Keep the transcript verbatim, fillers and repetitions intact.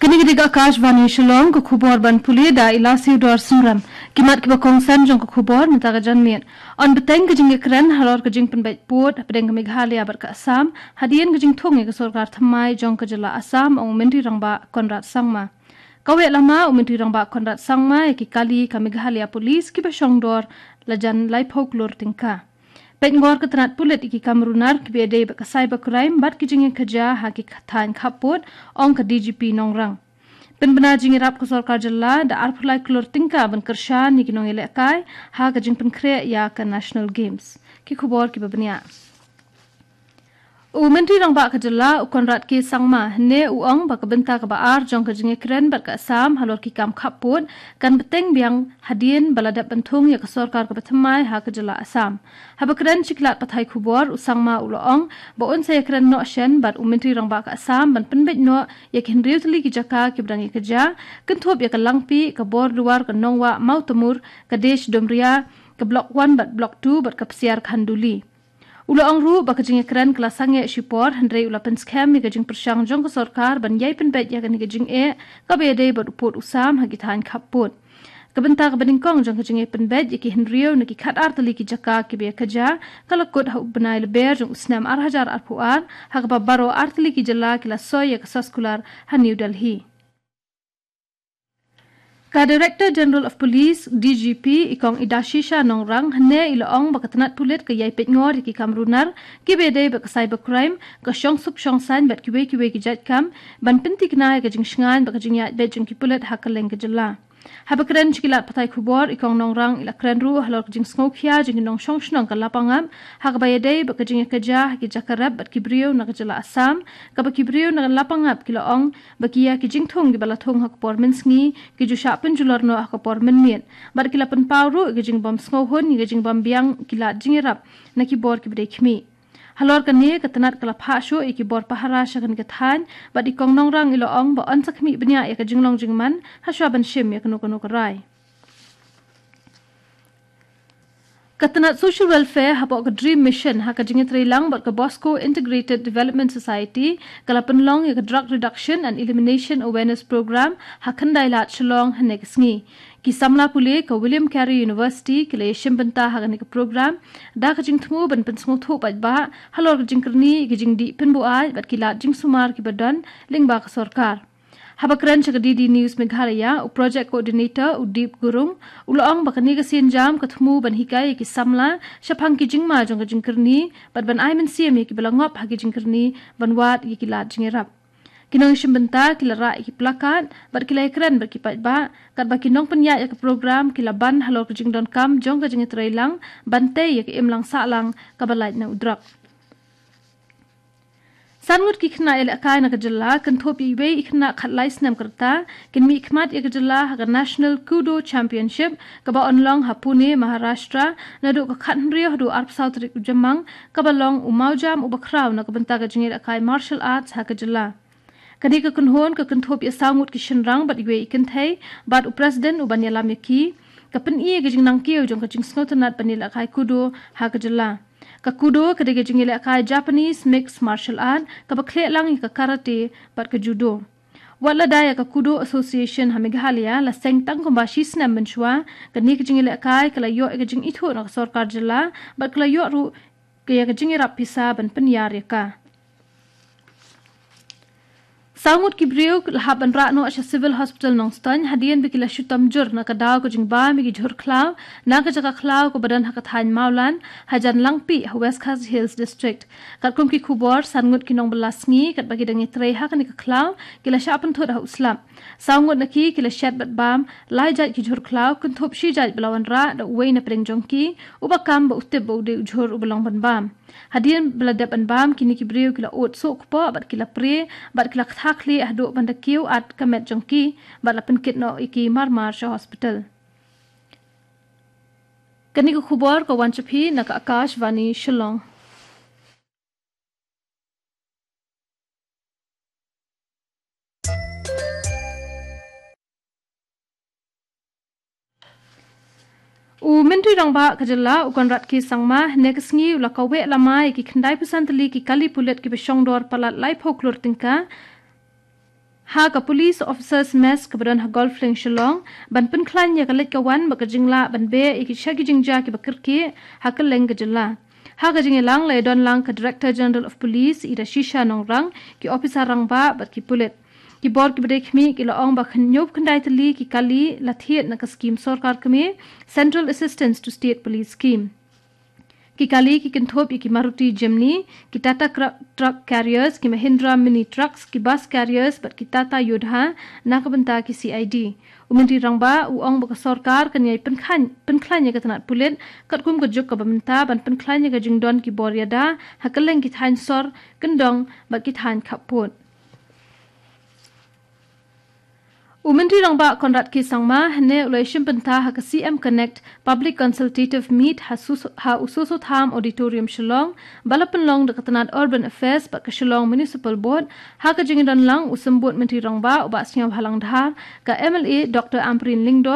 Kane ka dei ka Akashvani Shillong, ka khubor ban pule da i Lasiu Dor Sumram. Ki mat kiba kongsan jong ka khubor mynta ka janmiet. Yn bteng ka jingïakren halor ka jingpynbeit pud hapdeng ka Meghalaya bad ka Assam, hadien ka jingthung ïa ka sorkar thymmai jong ka jylla Assam, ong u Myntri Rangbah Conrad Sangma. Kawei lama u Myntri Rangbah Conrad Sangma ïa ki kali ka Meghalaya Police kiba shong dor la jan laiphew klur tyngka. Peit ngor ka tnat pulit ïa ki kam runar kiba ïadei bad ka cyber crime bad ki jingïakajia ha ki thaiñ khappud, ong ka D G P Nongrang. Pynbna jingïarap ka sorkar jylla da arphew lai klur tyngka ban kyrshan ïa ki nongïalehkai ha ka jingpynkhreh ïa ka National Games. Ki khubor kiba bniah. U Myntri Rangbah ka jylla, u Conrad K Sangma, hynne u ong ba ka bynta kaba ar jong ka jingïakren bad ka Assam halor ki kam khappud kan bteng biang hadien ba la dep ban thung ïa ka sorkar kaba thymmai ha ka jylla Assam. Haba kren sha ki lad pathai khubor, u Sangma u la ong ba un sa ïakren noh shen bad u Myntri Rangbah ka Assam ban pynbeit noh ïa ki hynriew tylli ki jaka kiba dang ïakajia, kynthup ïa ka Langpih, ka Borduar, ka Nongwah, Mawtamur, ka Desh Dumria, ka Block One bad Block Two bad ka Psiar Khanduli. U la ong ruh ba ka jingïakren ka la sangeh shipor, hynrei u la pynskhem ïa ka jingpyrshang jong ka sorkar ban ïai pynbeit ïa kane ka jingeh kaba ïadei bad u pud u sam ha ki thaiñ khappud. Ka bynta kaba nyngkong jong ka jingïai pynbeit ïa ki hynriew na ki khatar tylli ki jaka kiba ïakajia ka la kut ha u bnai Lber jong u snem ar hajar arphew ar, ha kaba baroh ar tylli ki jylla ki la soi ïa ka soskular ha New Delhi. Ka Director General of Police, D G P, i Kong Idashisha Nongrang, hynne i la ong ba ka tnat pulit ka ïai peit ngor ïa ki kam runar kiba ïadei bad ka cyber crime, ka shongsuk shongsaiñ bad kiwei kiwei ki jait kam, ban pynthikna ïa ka jingshngaiñ bad ka jingïaid beit jong ki pulit ha kylleng ka jylla. Haba kren sha ki lad pathai khubor, i Kong Nongrang i la kren ruh halor ka jingsngewkhia jong ki nongshong shnong ka Lapangap ha kaba ïadei bad ka jingïakajia ha ki jaka rep bad ki briew na ka jylla Assam, kaba ki briew na ka Lapangap ki la ong ba ki ïa ki jingthung kiba la thung ha ka por mynsngi ki ju shah pynjulor noh ha ka por mynmiet, bad ki la pynpaw ruh ïa ka jingbym sngewhun, ïa ka jingbym biang ki lad jingïarap na ki bor kiba dei khmih. Halor kane, ka tnat ka la phah shuh ïa ki bor pahara sha kane ka thaiñ, bad i Kong Nongrang i la ong ba yn sa khmih bniah ïa ka jinglong jingman hashwa ban shim ïa kano kano ka rai. Ka tnat Social Welfare hapoh ka DREAM Mission ha ka jingïatreilang bad ka Bosco Integrated Development Society ka la pynlong ïa ka Drug Reduction and Elimination Awareness Program ha Khyndai Lad, Shillong, hynne ka sngi. Ki samla pule ka William Carey University ki la ïashim bynta ha kane ka program da ka jingthmu ban pynsngewthuh paidbah halor ka jingkyrni ïa ka jingdih pynbuaid bad ki lad jingsumar kiba don lyngba ka sorkar. Haba kren sha ka D D News Meghalaya, u Project Coordinator u Deep Gurung u la ong ba kane ka sienjam ka thmu ban hikai ïa ki samla shaphang ki jingma jong ka jingkyrni bad ban ai mynsiem ïa kiba la ngop ha ki jingkyrni ban wad ïa ki lad jingïarap. Ki nongïashim bynta ki la rah ïa ki placard bad ki la ïakren bad ki paidbah, katba ki nongpynïaid ïa ka program ki la ban halor ka jingdonkam jong ka jingïatreilang ban tei ïa ka imlang sahlang kaba lait na u drok. San ngut ki khynnah ïalehkai na ka jylla, kynthup ïa iwei i khynnah khatlai snem ka rta, kin mihkhmat ïa ka jylla ha ka National Kudo Championship kaba yn long ha Pune, Maharashtra, naduh ka khathynriew haduh arphew saw tarik u Jymmang, kaba long u mawjam uba khraw na ka bynta ka jingïalehkai martial arts ha ka jylla. Kane ka kynhun ka kynthup ïa saw ngut ki shynrang bad iwei i kynthei, bad u president uban ïalam ïa ki, ka pyni ïa ka jingnangkiew jong ka jingsngewtynnat ban ïalehkai kudo ha ka jylla. Ka kudo ka dei ka jingïalehkai Japanese mixed martial art kaba khleh lang ïa ka karate bad ka judo. Wat la dei ïa ka Kudo Association ha Meghalaya la seng tang kumba shi snem mynshuwa, kane ka jingïalehkai ka la ïoh ïa ka jingithuh na ka sorkar jylla bad ka la ïoh ruh ïa ka jingïarap pisa ban pynïar ïa ka. Saw ngut ki briew la hap ban rah noh sha Civil Hospital Nongstoiñ hadien ba ki la shu tam jur na ka daw ka jingbam ïa ki jhur khlaw na ka jaka khlaw kaba don ha ka thaiñ Mawlan, hajan Langpih ha West Khasi Hills District. Katkum ki khubor, san ngut ki nongbylla sngi katba ki dang ïatrei ha kane ka khlaw ki la shah pynthut ha u slap. Saw ngut na ki ki la shet bad bam lai jait ki jhur khlaw, kynthup shi jait ba la wanrah da uwei na pdeng jong ki, uba kam ba u tip ba u dei u jhur uba long ban bam. Hadien ba la dep ban bam, kine ki briew ki la ud suh kpoh bad ki la prie bad ki la ktha khlieh haduh ban da kiew at ka met jong ki bad la pynkit noh ïa ki mar mar sha hospital. Kane ka khubor ka wan sha phi na ka Akashvani Shillong. U Myntri Rangbah ka jylla, u Conrad K Sangma, hynne ka sngi u la kaweh lama ïa ki khyndai phew san tylli ki kali pulit kiba shongdor palat laiphew klur tyngka ha ka Police Officers Mess kaba don ha Golf Link Shillong, ban pynkhlaiñ ïa ka leit ka wan bad ka jinglah ban beh ïa ki sha ki jingjia kiba kyrkieh ha kylleng ka jylla. Ha ka jingïalang la ïadon lang ka Director General of Police, Ida Shisha Nongrang, ki ophisar rangbah bad ki pulit. Ki bor kiba dei khmih ki la ong ba khynñiuh khyndai tylli ki kali la thied na ka skim sorkar kmie, Central Assistance to State Police Scheme. Ki kali ki kynthup ïa ki Maruti Jimny, ki Tata Cra- Truck Carriers, ki Mahindra Mini Trucks, ki Bus Carriers bad ki Tata Yodha na ka bynta ki C I D. U Myntri Rangbah u ong ba ka sorkar kan ïai pynkhlaiñ pynkhlaiñ ïa ka tnat pulit katkum ka juk kaba mynta ban pynkhlaiñ ïa ka jingdon ki bor ïada ha kylleng ki thaiñ sor, kyndong bad ki thaiñ khappud. U Myntri Rangbah Conrad K Sangma hynne u la ïashim bynta ha ka C M Connect Public Consultative Meet ha, Sus- ha u Soso Tham Auditorium Shillong, ba la pynlong da ka tnat Urban Affairs bad ka Shillong Municipal Board. Ha ka jingdon lang u Symbud Myntri Rangbah u Bah Sniawbhalang Dhar, ka M L A Doctor Ampareen Lyngdoh,